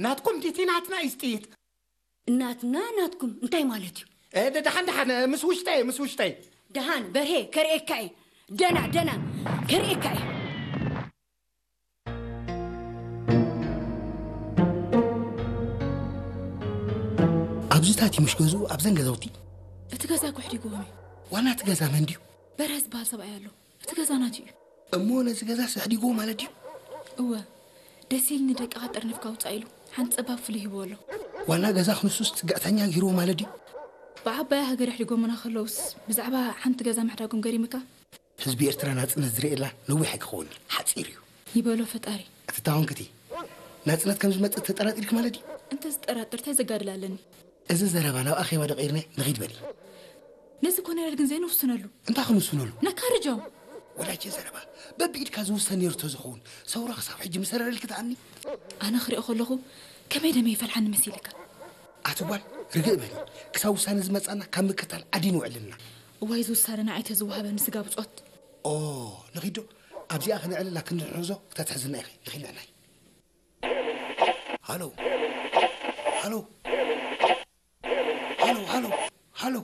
ናትኩም ድቲ ናትና ኢስጥይት። እናትና ናትኩም እንታይ ማለት እዩ? ደሓን ደሓን፣ ምስ ውሽጠይ፣ ምስ ውሽጠይ። ደሃን በርሄ፣ ከርእየካ እየ። ደና ደና፣ ከርእየካ እየ። ኣብዚታት ምሽ ገዝኡ ኣብዘን ገዛውቲ። እቲ ገዛ ኩሕዲግዎም እዩ። ዋና እቲ ገዛ መን ድዩ? በርሀ ዝበሃል ሰብኣይ ኣሎ። እቲ ገዛ ናቱ እዩ። እሞ ነዚ ገዛ ስሕዲግዎ ማለት ድዩ? እወ፣ ደሴል ንደቅኻ ጠርኒፍካ ውፃእ ኢሉ ሓንቲ ፀባብ ፍልይ ሂብዎ ኣሎ። ዋና ገዛ ክንሱስ ፅግዕተኛ ገይርዎ ማለት ድዩ? ብዓባያ ሃገር ኣሕዲጎምና ከለውስ ብዛዕባ ሓንቲ ገዛ ምሕዳጎም ገሪምካ? ህዝቢ ኤርትራ ናጽነት ዝርእየላ ነዊሕ ኣይክኸውን፣ ሓጺር እዩ። ይበሎ ፈጣሪ። እቲ ታወንክቲ ናጽነት ከም ዝመጽእ ተጠራጢርክ ማለት ድዩ? እንተ ዝጠራጥር እንታይ ዘጋድል ኣለኒ? እዚ ዘረባ ናብ ኣኼባ ደቂርና ንኺድ በሊ። ነዚ ኮነረል ግን ዘይንውስነሉ። እንታይ ክንውስነሉ? ነካርጃው። ወዳጀ ዘረባ በብኢድካ ዝውሰን ነይሩ ተዝኸውን ሰውራ ክሳብ ሕጂ ምሰረረልክ ተኣኒ። ኣነ ክሪኦ ከለኹ ከመይ ደመ ይፈልሓኒ መሲልካ? ኣቲ ጓል ርግእ በሊ። ክሳብ ውሳነ ዝመጻና ካብ ምክታል ዓዲ ንውዕል ኣለና። እዋይ እዚ ውሳነ ንዓይ ተዝወሃበኒ ስጋ ብጾት። ኦ ንኺዶ ኣብዚኣ ክንዕልላ ክንድሕዞ ክተትሕዝና ኢኺ ንኺድ ንዕናይ። ሃሎ ሃሎ ሃሎ ሃሎ ሃሎ